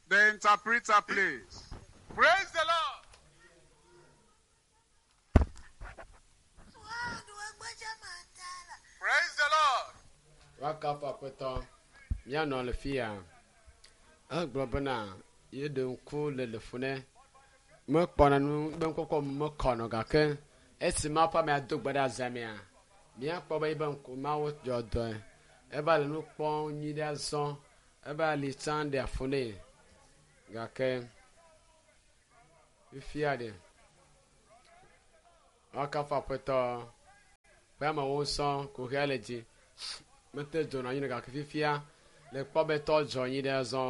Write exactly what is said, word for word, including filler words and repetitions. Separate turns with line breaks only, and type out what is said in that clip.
The interpreter, please. Praise the Lord. Praise the Lord.
Woakafu Aƒetɔ. Míanɔ le fi ya. Egblɔ bena yeɖe ŋku le le fu ne mekpɔna nu be ŋkɔkɔ mekɔnɔ gake esi Mawu ƒe amea do gbe ɖe azãmea, míakpɔ be yibe ŋku Mawu dzɔ dɔe. Eva le nu kpɔm nyui ɖe azɔ. Eva li tsã ɖe afu nɛ gake fifia ɖe woakafu Aƒetɔ ƒe amewo sɔ kuxia le dzi. Mete dzonɔ anyi ɖe gake fifia le kpɔ be tɔ dzɔ anyi ɖe azɔ.